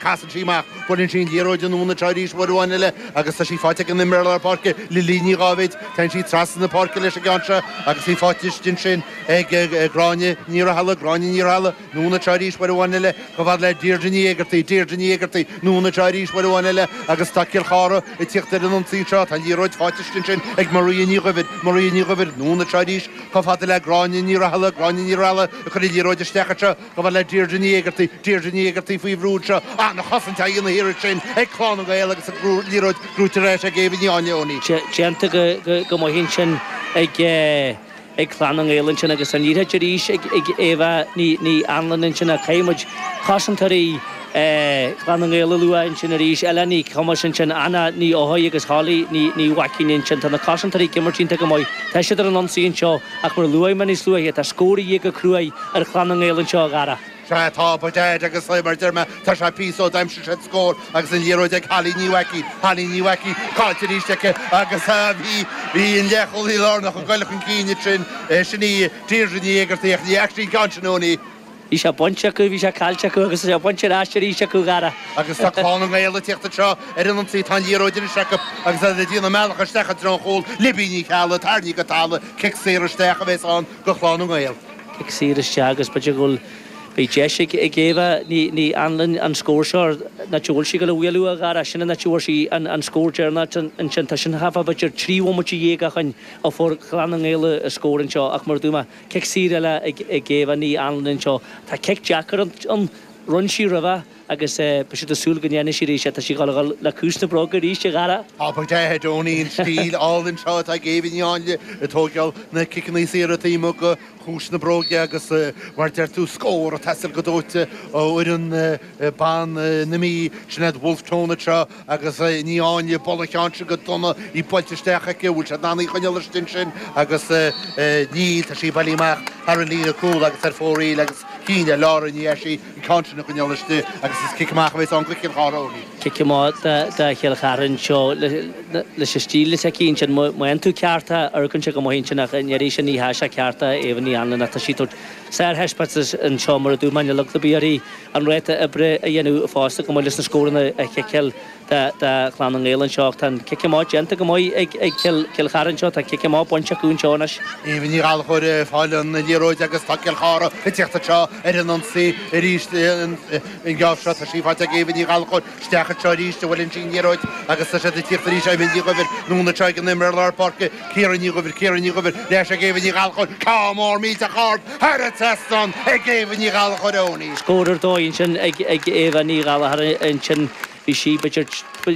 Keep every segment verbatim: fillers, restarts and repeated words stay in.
Casann sí amach, buaileann sí an liathróid anonn anseo arís uair amháin eile agus tá sí faighte ag an imreoir lár páirce, Lily Ní Dháibhéid. Téann sí trasna na páirce leis an gceann seo agus í faighte istigh ansin ag Gráinne Ní Rathaille, Gráinne Ní Rathaille, anonn anseo arís uair amháin eile chomh fada le Deirdre Ní Éigeartaigh, Deirdre Ní Éigeartaigh, anonn anseo arís uair amháin eile agus tá Cill Chartha ag tíocht ar an ionsaí anseo. Tá an liathróid faighte istigh ansin ag Maria Ní Dhuibhir, Maria Ní Dhuibhir, anonn anseo arís chomh fada le Gráinne Ní Rathaille, Gráinne Ní Rathaille ag cur an liathróid isteach anseo chomh fada le Deirdre Ní Éigeartaigh, Deirdre Ní Éigeartaigh faoi bhrú anseo. An-chosaint á dhéanamh thiar ansin ag Clann na nGael agus an liathróid gnóite ar ais ag Éabha Ní Áinle, Owenie. Déanta go maith ansin ag Clann na nGael ansin agus an liathróid arís ag Éabha Ní Anluain ansin ach caithfidh muid cosantóirí Chlann na nGael a lua ansin arís, Ella Ní Chumas ansin, Anna Ní Eochaidh agus Holly Ní Mhaicín ansin. Tá na cosantóirí ag imirt iontach go maith. Tá siad ar an ionsaí anseo ach mar a luaigh mé níos luaithe, tá scór a dhíth go cruaidh ar Chlann na nGael anseo, a Dhara. Sea, tá, by dad, agus mar a deir mé, tá sé píosa ó d'aimsigh siad scór agus an liathróid ag Holly Ní Mhaicín, Holly Ní Mhaicín, caillte arís aici agus bhí, bhí an leathchúlaí lárnach ag goil chun cinn ansin, sin í Deirdre Ní Éigeartaigh ach ní fhaca sí an ceann sin, Owenie. Bhí sé bainte acu, bhí sé caillte acu agus tá sé bainte ar ais arís acu, a Dhara. Agus tá Clann na nGael ag tíocht anseo ar an ionsaí, tá an liathróid anois acu agus iad ag déanamh a mbealach isteach i dtreo an chúil, Libby Ní Cheallaigh, tarraingthe go talamh, cic saor isteach a bheas ann do Chlann na nGael. Cic saor isteach agus b'fhéidir go bhfuil, beidh deis ag Éabha Ní Anluain an scór seo, an áit a bhfuil sí ag dul a bhualadh, a Dhara, sin an áit a bhfuair sí an scór deireanach ansin. Tá sin thart fá b'fhéidir trí bhomaite dhéag ó shin a fuair Clann na nGael a scór anseo ach mar a dúirt mé, cic saor eile ag Éabha Ní Anluain anseo. Tá cic deacair ann, rinn sí roimhe agus beidh siad ag súil go ndéanfaidh sí arís é. Tá sí ag dul a dhul le cúis na bróige arís, a Dhara. Tá by dad, Owenie, an stíl álainn seo atá ag Éabha Ní Áinle ag tógáil na ciceanna saora taobh amuigh de chúis na bróige agus mar a deir tú scór ag teastáil go dóite ó fhoireann ban na Mí, sin iad Wolfe Tone anseo agus Ní Áinle ag bualadh an cheann sin go dona, í buailte isteach aici, bhfuil siad in ann í a choinneáil istigh ansin agus níl, tá sí bailithe amach thar an líne cúl agus ar fóraoil agus chinn ar Laura Ní Eisí an ceann sin a choinneáil istigh agus is cic amach a bheas ann do Chill Chartha, Owenie. Cic amach do Chill Chartha anseo leis an stíl atá aici ansin. Má fhaigheann tú ceart é, amharcann sé go maith ansin ach an iarraidh sin ní hea sé ceart é Éabha Ní Anluain ach tá sí ag tabhairt sárthaispeántas anseo mar a dúirt mé níl eagla ar bith uirthi an ráta oibre a dhéanamh fosta chomh maith leis na scóranna a chiceáil do Chlann na nGael anseo ach tá an cic amach déanta go maith ag Cill Chartha anseo, tá cic amach bainte acu anseo anois. Éabha Ní Ghallchóir ag fáil an liathróid agus tá Cill Chartha ag tíocht anseo ar an ionsaí arís an geábh seo. Tá sí faighte ag Éabha Ní Ghallchóir isteach anseo arís a bhuaileann sí an liathróid agus tá siad ag tíocht arís Éabha Ní Dhuibhir anonn anseo ag an imreoir lár páirce Ciara Ní Dhuibhir, Ciara Ní Dhuibhir, ar ais ag Éabha Ní Ghallchóir, ceann mór millteach ard thar an trasnán ag Éabha Ní Ghallchóir Owenie. Scór ar dóigh ansin ag Éabha Ní Ghallchóir ansin. Bhí sí b'fhéidir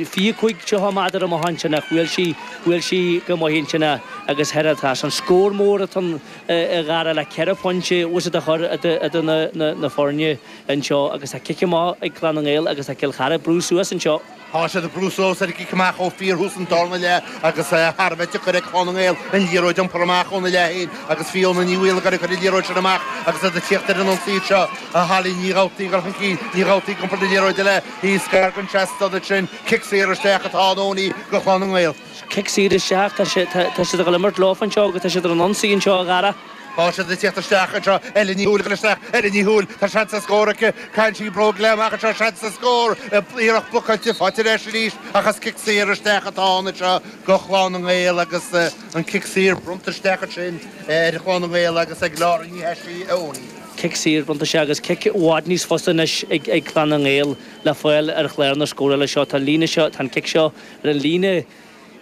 fiche cúig tríocha méadar amach ansin ach bhuail sí, bhuail sí go maith ansin agus thar an trasnán. Scór mór atá ann a Dhara le ceithre phointe uasad a chur idir na na foirne anseo agus tá cic amach ag Clann na nGael agus tá Cill Chartha ag brú suas anseo. Tá siad ag brú suas ar an gcic amach ó fíorthús an darna leath agus thar a bheith deacair ag Clann na nGael an liathróid a iompar amach óna leath féin agus Fiona Ní Mhaolagáin ag cur an liathróid sin amach agus iad ag tíocht ar an ionsaí anseo. Holly Ní Dhubhtaigh ag dul chun cinn, Ní Dhubhtaigh ag iompar na liathróide eile thíos gar don trasnán ansin. Cic saor isteach atá ann Owenie do Chlann na nGael. Cic saor isteach, tá siad ag dul imirt leofa anseo agus tá siad ar an ionsaí anseo a Dhara. Tá siad ag tíocht isteach anseo. Ellen Ní Shúill ag dul isteach. Ellen Ní Shúill, tá seans ar scór aici. Caitheann sí bróg léi amach anseo. Seans ar scór. Iarracht blocáilte faighte ar ais arís ach is cic saor isteach atá ann anseo do Chlann na nGael agus an cic saor bronnta isteach ansin ar Chlann na nGael agus ag Laura Ní Thaisí, a Owenie. Cic saor bronnta isteach agus cic i bhfad níos fusa anois ag Clann na nGael le fáil ar chlár na scórála seo. Tá an líne seo, tá an cic seo ar an líne.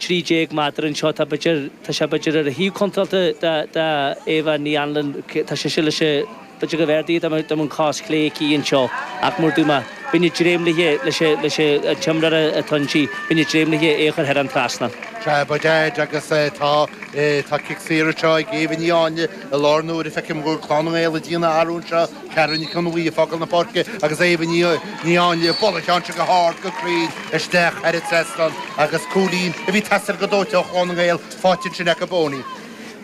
trí déag méadar anseo, tá b'fhéidir, tá sé b'fhéidir ar an thaobh contráilte de, de Éabha Ní Anluain, tá sise leis an, b'fhéidir go bhféadfaí dá mbeadh an cos chlé aici anseo ach mar a dúirt mé, bheinn ag dréim léi, leis an, leis an t-imreoir atá inti, bheinn ag dréim léi é a chur thar an trasnán. Sea, by dad, agus tá, tá cic saor anseo ag Éabha Ní Áinle i láthair na huaire, feicim go bhfuil Clann na nGael ag déanamh athrú anseo, Ceara Nic Fhionnghaile ag fágáil na páirce agus Éabha Ní Áinle ag bualadh an ceann seo go hard go cruinn isteach thar an trasnán agus cúilín a bhí ag teastáil go dóite ó Chlann na nGael faighte ansin acu Owenie.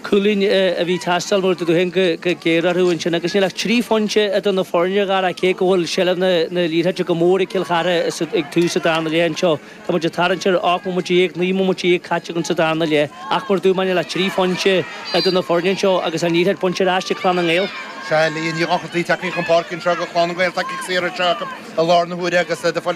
Cúilín a bhí ag teastáil mar dúirt tú féin go géar orthu ansin agus níl ach trí phointe idir na foirne Dhara cé go bhfuil seilbh na liathróide go mór ag Cill Chartha ag tús an darna leath anseo. Tá muid ag tarraingt ar ocht mbomaite déag, naoi mbomaite déag caite againn sa darna leath ach mar dúirt mé níl ach trí phointe idir na foirne anseo agus an liathróid bainte ar ais ag Clann na nGael. Sea, Leah Ní Dhochartaigh tagtha chun páirce anseo do Chlann na nGael tá cic saor anseo acu i lár na huaire agus de